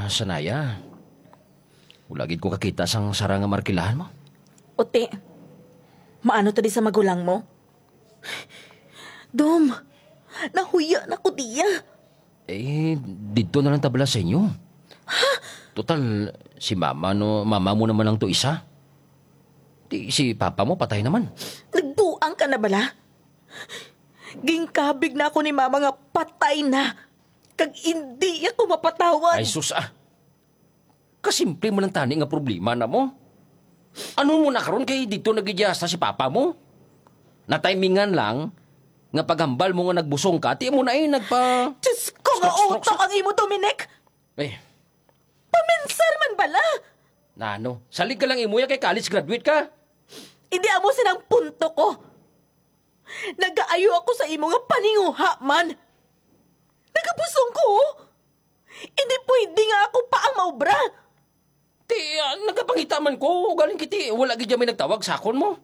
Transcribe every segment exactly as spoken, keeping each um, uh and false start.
Sanaya, wala gid ko kakita sang sara nga markilahan mo. Uti, maano to di sa magulang mo? Dom, nahuya na ko diya. Eh, didto na lang ta bala sa inyo. Total, si mama, no, mama mo naman lang to isa. Di, si papa mo patay naman. Nagbuang ka na bala? Ginkabig na ako ni mama nga patay na. Kag indi ako mapatawad. Ay, sus, ah. Kasimple man ang tani nga problema na mo. Ano mo na karon kay dito nagidya hasta si papa mo? Natimingan lang nga paghambal mo nga nagbusong ka, ti mo na eh nagpa... Diyos ko, nga Stroke, stroke, utok stroke. Ang imo, Dominic! Eh, Paminsar man bala! Nano? Salig ka lang imo ya kay college graduate ka. Hindi amo sinang punto ko. Nagaayo ako sa imo nga paninguha man. Nagabusong ko, oh. Hindi pwede nga ako pa ang maubra. Ti, ah, nagapangita man ko, galing kiti, wala gid may nagtawag sa akon mo.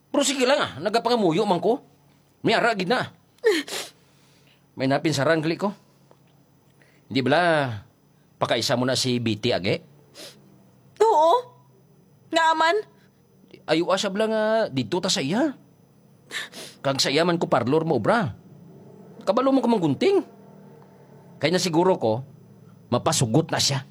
Pero sige lang, ah, nagapangamuyo man ko. May ara gid na. May napinsaran gali ko. Hindi bala, pakaisa mo na si Betty agi? Oo. Nga man? Ayua siya bala nga dito ta sa iya. Kag sa iya man ko parlor mo obra. Kabalo mo ko manggunting. Kay na siguro ko, mapasugot na siya.